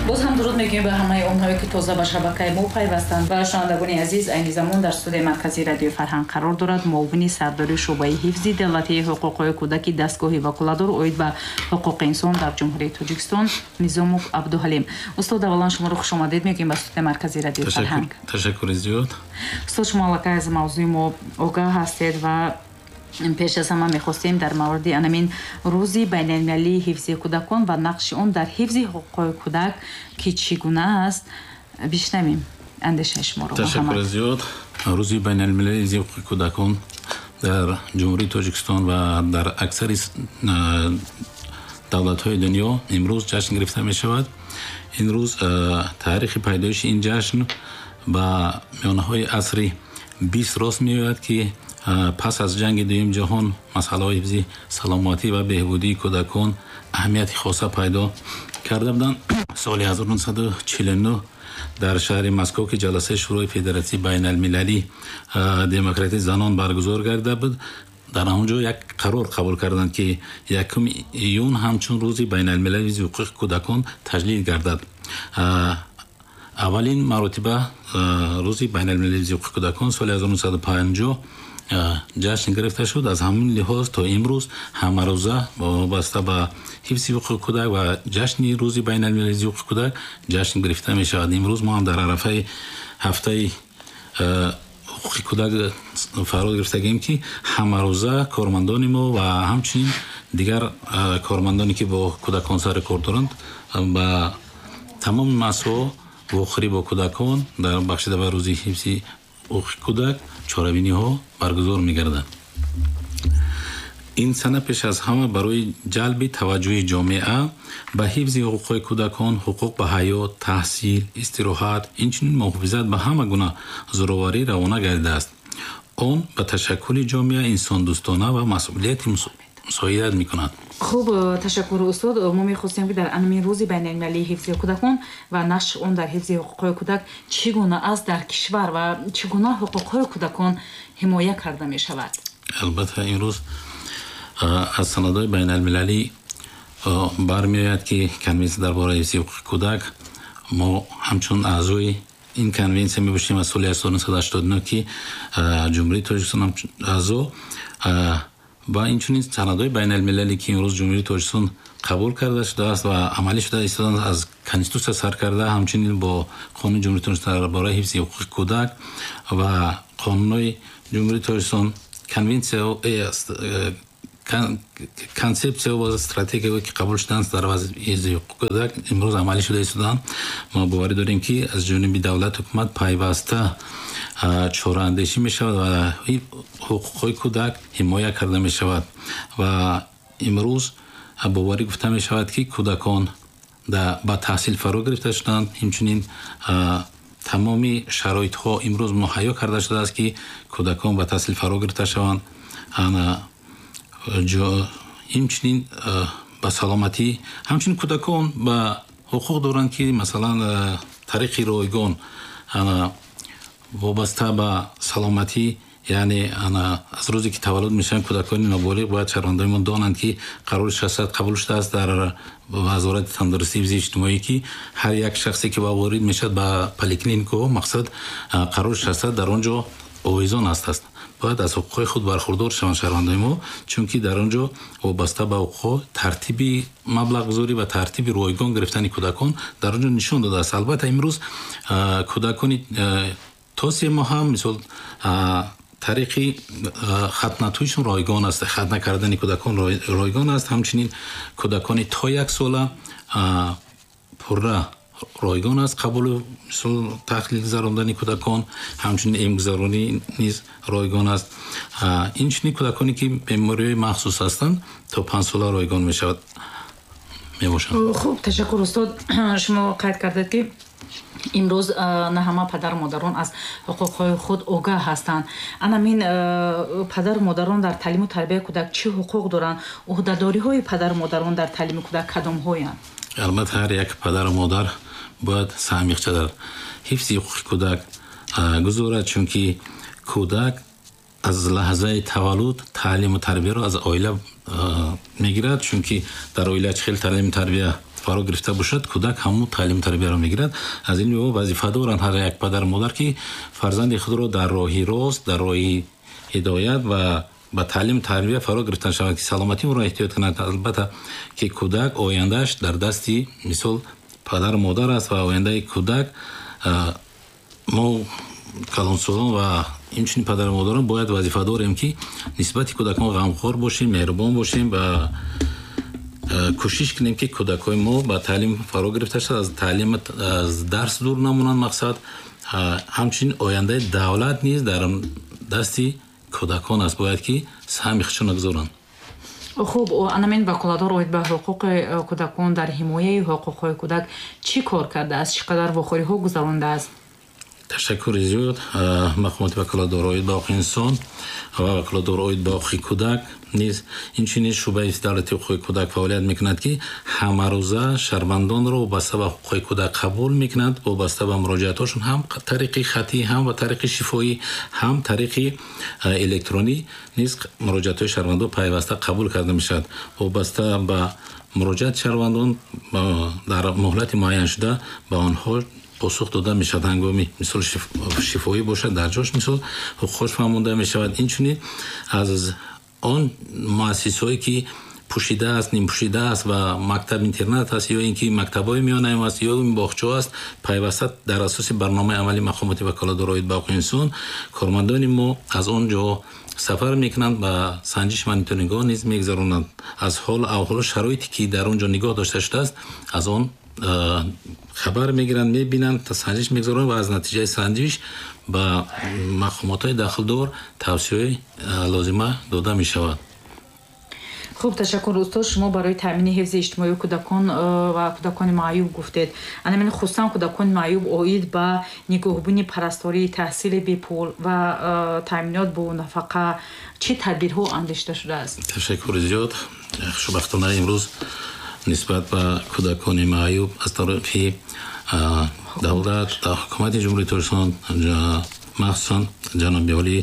Боз ҳам дуруд мегӯем ба ҳамаи онҳое, ки тоза ба шабакаи мо пайвастанд. Ва шунавандагони азиз, айни замон дар студияи марказии Радиои Фарҳанг қарор дорад муовини сардори шӯъбаи ҳифзи давлатии ҳуқуқҳои кӯдаки дастгоҳи ваколатдор оид ба ҳуқуқи инсон дар Ҷумҳурии Тоҷикистон Низомов Абдуҳалим. Устод, аввалан шуморо хушомадед мегӯем ба студияи марказии Радиои Фарҳанг. Ташаккури зиёд. Устод, шумо аллакай аз мавзӯи мо огаҳ ҳастед ва пеш аз ҳама мехостем дар мавриди анамин рӯзи байналмилалии ҳифзи кӯдакон ва нақши он дар ҳифзи ҳуқуқҳои кӯдак, ки чӣ гуна аст, бишнавем андешаи шуморо. Ташаккури зиёд. Рӯзи байналмилалии ҳифзи ҳуқуқи кӯдакон дар Ҷумҳурии Тоҷикистон ва дар аксари давлатҳои дунё имрӯз ҷашн гирифта мешавад. Ин рӯз, таърихи пайдоиши ин ҷашн ба миёнаҳои асри 20 рост меояд, ки пас аз ҷанги дуюм ҷаҳон масъалаҳои ҳифзи саломатӣ ва беҳбудии кӯдакон аҳамияти хоса пайдо карда буданд. Соли 1949 дар шаҳри Москва, ки ҷаласаи Шӯрои Федератсияи байналмилалӣ демократии занон баргузор гардида буд, дар он ҷо як қарор қабул карданд, ки 1 июн ҳамчун рӯзи байналмилалии ҳифзи ҳуқуқи кӯдакон таҷлил гардад. Аввалин маротиба рӯзи байналмилалии ҳифзи ҳуқуқи кӯдакон соли 1950 ҷашн гирифта шуд. Аз ҳамин лиҳоз то имрӯз ҳамарӯза вобаста ба ҳифзи ҳуқуқи кӯдак ва ҷашни рӯзи байналмилалии ҳифзи ҳуқуқи кӯдак ҷашн гирифта мешавад. Имрӯз мо ҳам дар арафаи ҳафтаи ҳуқуқи кӯдак фаро гирифтагем, ки ҳамарӯза кормандони мо ва ҳамчунин дигар кормандоне, ки бо кӯдакон сари кор доранд, ба тамоми муассисаҳо вохӯрӣ бо кӯдакон дар бахшида ба рӯзи ҳифзи ҳуқуқи кӯдак чорабиниҳо баргузор мегарданд. Ин сана пеш аз ҳама барои ҷалби таваҷҷӯҳи ҷомеа ба ҳифзи ҳуқуқҳои кӯдакон, ҳуқуқ ба ҳаёт, таҳсил, истироҳат, инчунин муҳофизат ба ҳама гуна зӯроварӣ равона гардидааст. Он ба ташаккули ҷомеа инсондӯстона ва масъулияти мусоидат мекунад. Хуб, ташаккур, устод. Мо мехостем, ки дар анамин рӯзи байналмилалии ҳифзи кӯдакон ва нақши он дар ҳифзи ҳуқуқҳои кӯдак чӣ гуна аст дар кишвар ва чӣ гуна ҳуқуқҳои кӯдакон ҳимоя карда мешавад. Албатта, имрӯз аз санадҳои байналмилалӣ бармеояд, ки конвенсия дар бораи ҳифзи ҳуқуқи кӯдак, мо ҳамчун аъзои ин конвенсия мебошем аз соли 1989, ки Ҷумҳурии Тоҷикистон аъзо, ва инчунин санадҳои байналмилалӣ, ки имрӯз Ҷумҳурии Тоҷикистон қабул карда шудааст ва амалӣ шуда истодаанд, аз Конститутсия сар карда, ҳамчунин бо Қонуни Ҷумҳурии Тоҷикистон дар бораи ҳифзи ҳуқуқи кӯдак ва қонунҳои Ҷумҳурии Тоҷикистон, конвенсия, консепсия ва стратегияҳое, ки қабул шуданд дар вазъи ҳуқуқи кӯдак, имрӯз амалӣ шуда истодаанд. Мо боварӣ дорем, ки аз ҷониби давлат, ҳукумат пайваста чораандешӣ мешавад ва ҳуқуқҳои кӯдак ҳимоя карда мешавад. Ва имрӯз боварӣ гуфта мешавад, ки кӯдакон ба таҳсил фаро гирифта шуданд. Инчунин тамоми шароитҳо имрӯз муҳайё карда шудааст, ки кӯдакон ба таҳсил фаро гирифта шаванд, инчунин ба саломатӣ. Ҳамчунин кӯдакон ба ҳуқуқ доранд, ки масалан тариқи ройгон вобаста ба саломатӣ, яъне аз рӯзе ки таваллуд мешаванд кӯдакони ноболиғ, бояд шаҳрвандони мо донанд, ки қарори 600 қабул шудааст дар Вазорати тандурустӣ, ҳифзи иҷтимоӣ, ки ҳар як шахсе, ки ворид мешавад ба поликлиникаҳо, мақсад қарори 600 дар он ҷо овезон аст, бояд аз ҳуқуқҳои худ бархурдор шаванд шаҳрвандони мо, чунки дар он ҷо вобаста ба ҳуқуқҳо, тартиби маблағгузорӣ ва тартиби ройгон гирифтани кӯдакон дар он ҷо нишон додааст. Албатта, имрӯз кӯдакони то 3 моҳа, мисол, тариқи хатнатӯишон ройгон аст, хатна кардани кӯдакон ройгон аст. Ҳамчунин кӯдакони то як сола пурра ройгон аст қабулу, мисол, таҳлил гузарондани кӯдакон, ҳамчунин эмгузаронӣ низ ройгон аст. Инчунин кӯдаконе, ки бемориҳои махсус ҳастанд, то 5 сола ройгон мешавад, мебошанд. Хуб, ташаккур, устод. Шумо қайд кардед, ки имрӯз на ҳама падару модарон аз ҳуқуқҳои худ огаҳ ҳастанд. Анамин падару модарон дар таълиму тарбияи кӯдак чӣ ҳуқуқ доранд? Ӯҳдадориҳои падару модарон дар таълими кӯдак кадомҳоянд? Албатта, ҳар як падару модар бояд саҳми худша дар ҳифзи ҳуқуқи кӯдак гузорад, чунки кӯдак аз лаҳзаи таваллуд таълиму тарбияро аз оила мегирад, чунки дар оила чӣ хел таълиму тарбия фаро гирифта бошад, кӯдак ҳамун таълиму тарбияро мегирад. Аз ин лиҳоз вазифа доранд ҳар як падару модар, ки фарзанди худро дар роҳи рост, дар роҳи ҳидоят ва ба таълиму тарбия фаро гирифта шавад, ки саломатии ӯро эҳтиёт кунад. Албатта, ки кӯдак ояндааш дар дасти, мисол, падару модар аст ва ояндаи кӯдак мо калонсолон ва инчунин падару модарон бояд вазифа дорем, ки нисбати кӯдакон ғамхор бошем, меҳрубон бошем ва кӯшиш кунем, ки кӯдакҳои мо ба таълим фаро гирифта шавад, аз таълим, аз дарс дур намонанд. Мақсад, ҳамчунин ояндаи давлат низ дар дасти кӯдакон аст, бояд ки саҳми худшонро гузоранд. Хуб, анамин ваколатдор оид ба ҳуқуқи кӯдакон дар ҳимояи ҳуқуқҳои кӯдак чӣ кор кардааст, чӣ қадар вохӯриҳо гузарондааст? Ташаккури зиёд. Мақомоти ваколатдор оид ба ҳуқуқи инсон ва ваколатдор оид ба ҳуқуқи кӯдак низ, инчунин шӯъбаи давлати ҳуқуқи кӯдак фаъолият мекунад, ки ҳамарӯза шаҳрвандонро вобаста ба ҳуқуқи кӯдак қабул мекунад, вобаста ба муроҷиатҳошон ҳам тариқи хаттӣ, ҳам ба тариқи шифоҳӣ, ҳам тариқи электронӣ низ муроҷиатҳои шаҳрвандон пайваста қабул карда мешавад. Вобаста ба муроҷиати шаҳрвандон дар муҳлати муайяншуда ба онҳо посух дода мешавад. Ҳангоми, мисол, шифоҳӣ бошад, дар ҷош, мисол, ҳуқуқҳош фаҳмонда мешавад. Инчунин аз он муассисҳое, ки пӯшида аст, нимпӯшида аст ва мактаб интернат аст ё ин ки мактабҳои миёнаем аст ё боғчаҳо аст, пайваста дар асоси барномаи амали мақомоти ваколатдор оид ба ҳуқуқи инсон кормандони мо аз он ҷо сафар мекунанд ва санҷиш, мониторингҳо низ мегузаронанд. Аз ҳол аҳволу шароите, ки дар он ҷо нигоҳ дошта шудааст, аз он хабар мегиранд, мебинанд, санҷиш мегузаронанд ва аз натиҷаи санҷиш ба мақомотҳои дахлдор тавсияҳои лозима дода мешавад. Хуб, ташаккур, устод. Шумо барои таъмини ҳифзи иҷтимоии кӯдакон ва кӯдакони маъюб гуфтед. Анамин хусусан кӯдакони маъюб оид ба нигоҳубини, парастории, таҳсили бепул ва таъминот бо нафақа чӣ тадбирҳо андешида шудааст? Ташаккури зиёд. Хушбахтона, имрӯз нисбат ба кӯдакони маъюб аз тарафи давлат, ҳукумати Ҷумҳурии Тоҷикистон, махсусан ҷаноби олӣ,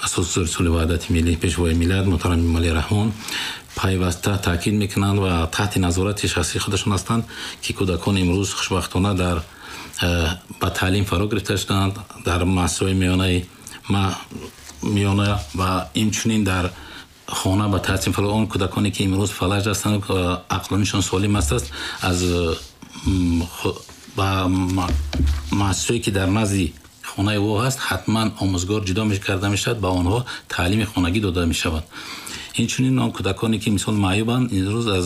асосгузори сулҳу ваҳдати миллӣ, Пешвои миллат муҳтарам Эмомалӣ Раҳмон пайваста таъкид мекунанд ва таҳти назорати шахсии худашон ҳастанд, ки кӯдакон имрӯз хушбахтона дар ба таълим фаро гирифта шуданд дар муассисаҳои миёнаи миёна ва инчунин дар хона ба таҳсил фаро. Он кӯдаконе, ки имрӯз фалаҷ ҳастанд, ақлонишон солим аст, аз ба муассисае, ки дар назди хонаи ӯ ҳаст, ҳатман омӯзгор ҷудо карда мешавад, ба онҳо таълими хонагӣ дода мешавад. Инчунин он кӯдаконе, ки, мисол, маъюбанд, имрӯз аз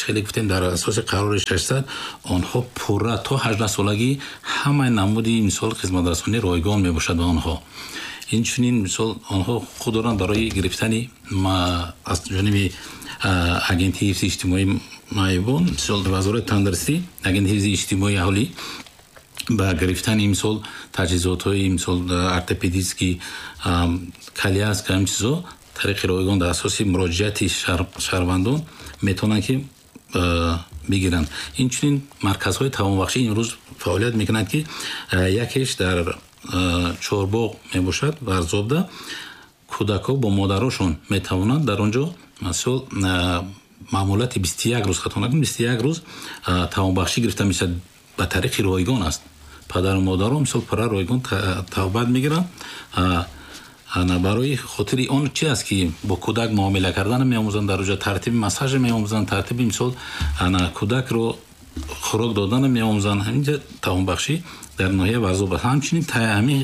хеле гуфтем, дар асоси қарори 600 онҳо пурра то 18 солагӣ ҳамаи намуди, мисол, хизматрасонӣ ройгон мебошад ба онҳо. Инчунин, мисол, онҳо ҳуқуқ доранд барои гирифтани аз ҷониби Агентии ҳифзи иҷтимоии маъюбон, мисол, Вазорати тандурустӣ, Агентии ҳифзи иҷтимоии аҳолӣ ба гирифтани, мисол, таҷҳизотҳои, мисол, ортопедический, коляска, ҳамин чизҳо тариқи ройгон дар асоси муроҷиати шаҳрвандон метавонанд, ки бигиранд. Инчунин марказҳои тавонбахшӣ имрӯз фаъолият мекунанд, ки якеш дар Чорбоғ мебошад, Варзобда. Кӯдакҳо бо модарошон метавонанд дар он ҷо, мисол, маъмулияти 21 рӯз, хато накунам, 21 рӯз тавонбахшӣ гирифта мешавад, ба тариқи ройгон аст. Падару модаро, мисол, пурра ройгон табобат мегиранд. Барои хотири он чи аст, ки бо кӯдак муомила кардан меомӯзанд дар оҷа, тартиби массажа меомӯзанд, тартиби, мисол, кӯдакро хӯрок додана меомӯзанд. Ҳаминҷа тавонбахшӣ дар ноҳияи Варзоб аст. Ҳамчунин ҳамин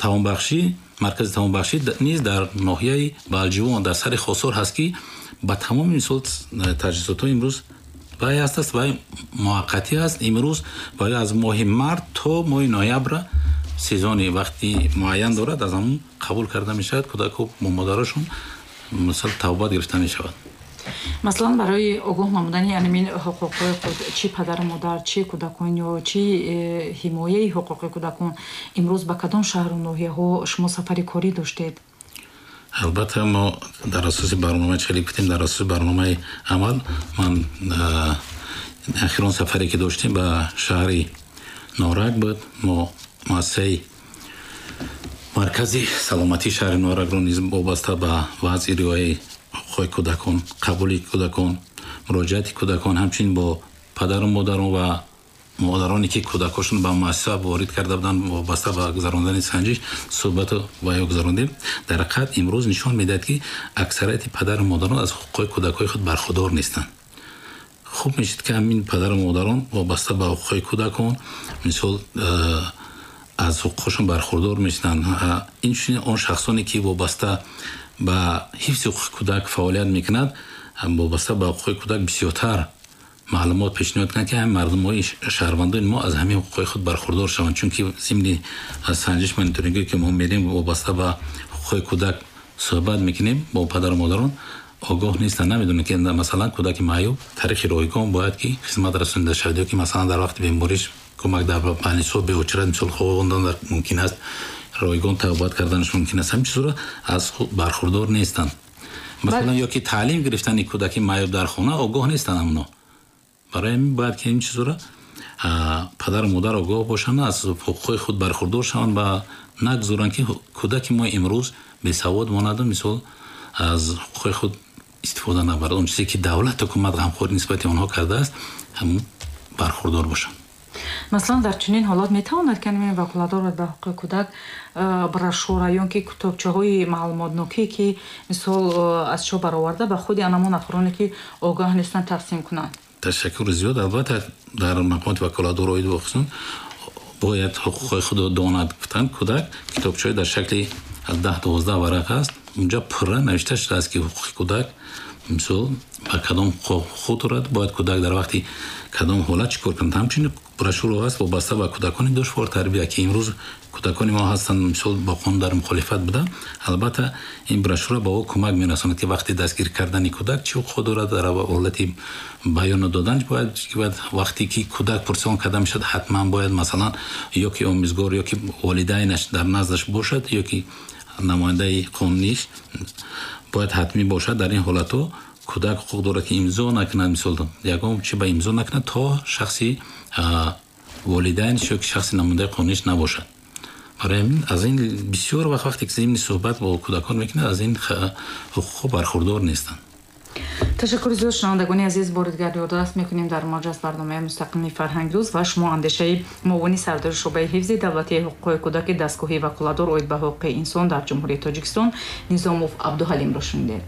тавонбахшӣ, маркази тавонбахшӣ низ дар ноҳияи Балҷувон, дар сари Хосор ҳаст, ки ба тамоми, мисол, таҷҳизотҳо имрӯз вай ҳаст, вай муваққатӣ аст. Имрӯз вай аз моҳи март то моҳи ноябра сезони вақти муайян дорад, аз ҳамон қабул карда мешавад, кӯдакҳо бо модарашон, мисол, табобат гирифта мешавад. Масалан, барои огоҳ намудани анамин ҳуқуқҳои худ, чӣ падару модар, чӣ кӯдакон ё чӣ ҳимояи ҳуқуқи кӯдакон, имрӯз ба кадом шаҳру ноҳияҳо шумо сафари корӣ доштед? Албатта, мо дар асоси барнома, хеле гуфтем, дар асоси барномаи амал ман ахирон сафаре, ки доштем, ба шаҳри Норак буд. Мо муассисаи маркази саломатии шаҳри Норакро низ вобаста ба вазъи риояи ҳуқуқҳои кӯдакон, қабули кӯдакон, муроҷиати кӯдакон, ҳамчунин бо падару модарон ва модароне ки кӯдакҳошон ба муассиса ворид карда буданд, вобаста ба гузарондани санҷиш суҳбату ва ё гузарондем. Дар ҳақиқат имрӯз нишон медиҳад, ки аксарияти падару модарон аз ҳуқуқҳои кӯдакҳои худ бархурдор нестанд. Хуб мешид, ки ҳамин падару модарон вобаста ба ҳуқуқҳои кӯдакон, мисол, аз ҳуқуқҳошон бархурдор мешуданд. Инчунин он шахсоне ки вобаста ба ҳифзи ҳуқуқи кӯдак фаъолият мекунад, вобаста ба ҳуқуқҳои кӯдак бисёртар маълумот пешниҳод кунанд, ки ҳамин мардумҳои шаҳрвандони мо аз ҳамин ҳуқуқҳои худ бархурдор шаванд. Чунки зимни аз санҷиш мониторингӣ ки мо мерем, вобаста ба ҳуқуқҳои кӯдак суҳбат мекунем бо падару модарон, огоҳ нестанд, намедонанд, ки масалан кӯдаки маъюб тариқи ройгон бояд ки хизмат расонида шавад, ё ки масалан дар вақти бемориш кӯмак дар баънисо беочрат, мисол, хобондан мумкин аст, ройгон табобат карданаш мумкин аст. Ҳамин чизҳоро аз худ бархурдор нестанд. Масалан, ё ки таълим гирифтани кӯдаки маъюб дар хона огоҳ нестанд ҳамоно. Барои ҳамин бояд ки ин чизҳоро падару модар огоҳ бошанд, аз ҳуқуқҳои худ бархурдор шаванд ва нагузоранд, ки кӯдаки мо имрӯз бесавод монаду, мисол, аз ҳуқуқҳои худ истифода набарад. Он чизе ки давлат, ҳукумат ғамхорӣ нисбати онҳо кардааст, ҳамун бархурдор бошанд. Масалан, дар чунин ҳолат метавонад ки ҳамин ваколатдор ба ҳуқуқи кӯдак брошюра ё ки китобчаҳои маълумотнокӣ, ки мисол аз чоп бароварда, ба худи анамон нафароне ки огаҳ нестанд, тақсим кунанд? Ташаккури зиёд. Албатта, дар мақомоти ваколатдор оид ба хусус бояд ҳуқуқҳои худро донад гуфтанд кӯдак, китобчаҳои дар шакли аз 10-12 варақ аст. Унҷа пурра навишта шудааст, ки ҳуқуқи кӯдак, мисол, ба кадом ҳуқуқ дорад, бояд кӯдак дар вақти кадом ҳолат чӣ кор кунад. Ҳамчунин брошюра ҳаст вобаста ба кӯдакони душвортарбия, ки имрӯз кӯдакони мо ҳастанд, мисол, бо қонун дар мухолифат буда. Албатта, ин брошюра ба ӯ кӯмак мерасонад, ки вақти дастгир кардани кӯдак чӣ ҳуқуқ дорад, дар ҳолати баёнот додан бояд, вақте ки кӯдак пурсон карда мешавад, ҳатман бояд, масалан, ё ки омӯзгор, ё ки волидайнаш дар наздаш бошад, ё ки намояндаи қонуниш бояд ҳатмӣ бошад. Дар ин ҳолатҳо кӯдак ҳуқуқ дорад, ки имзо накунад, мисол, ягон чи ба имзо накунад, то шахси волидайнш ё ки шахси намояндаи қонуниш набошад. Барои ҳамин аз ин бисёр вақт, вақте ки зимни суҳбат бо кӯдакон мекунад, аз ин ҳуқуқҳо бархурдор нестанд. Ташаккури зиёд. Шунавандагони азиз, бори дигар ёддаст мекунем, дар мавҷ аз барномаи мустақими «Фарҳангрӯз» ва шумо андешаи муовини сардори шӯъбаи ҳифзи давлатии ҳуқуқҳои кӯдаки дастгоҳи ваколатдор оид ба ҳуқуқи инсон дар Ҷумҳурии Тоҷикистон Низомов Абдуҳалимро шунидед.